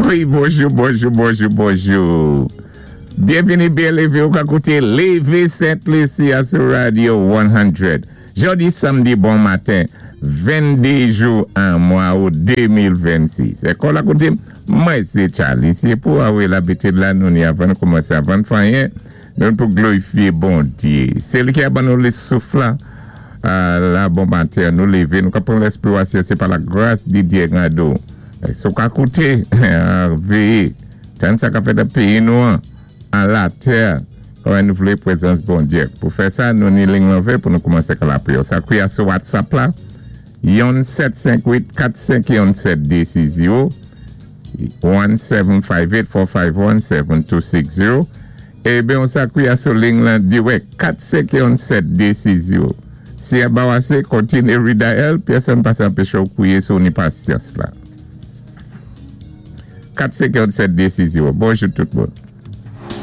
Wi, bonjou, bonjou, bonjou, bonjou. Byenvini, byen lévé, ou ka kouté Lévé Sent Lisi a sou Radio 100. Jòdi samdi bon maten, 22 jou an mwa out 2026. É kòl a kouté, mwen sé Charlie. Si pou awe labitid la, nou ni avan nou koumansé avan n fè anyen, nou pou glorifié Bondyé. Sé li ki a ban nou lé souf la, la bon maten, nou lévé, nou ka pran lèspirasyon, sé pa la gras di Dyé Gado. Si ou ka kouté, véyé, tann sa ka fèt an péyi nou an, an latè, kòman nou vlé pwézans Bondyé. Pou fè sa, nou ni ling lan vé pou nou koumansé ka lapriyè. Sa kouya sou WhatsApp la, 1 7 5 8 4 5 1 7 2 6 0, 1 7 5 8 4 5 1 7 2 6 0. É ben, sa kouya sou ling lan dirèk, 4 5 1 7 2 6 0. Si a ba asé, kontiné redial, pèsonn pa sa anpéché ou kouwé si ou ni pasyans la. 4 5 1 7 2 6 0. Bonjou tout moun.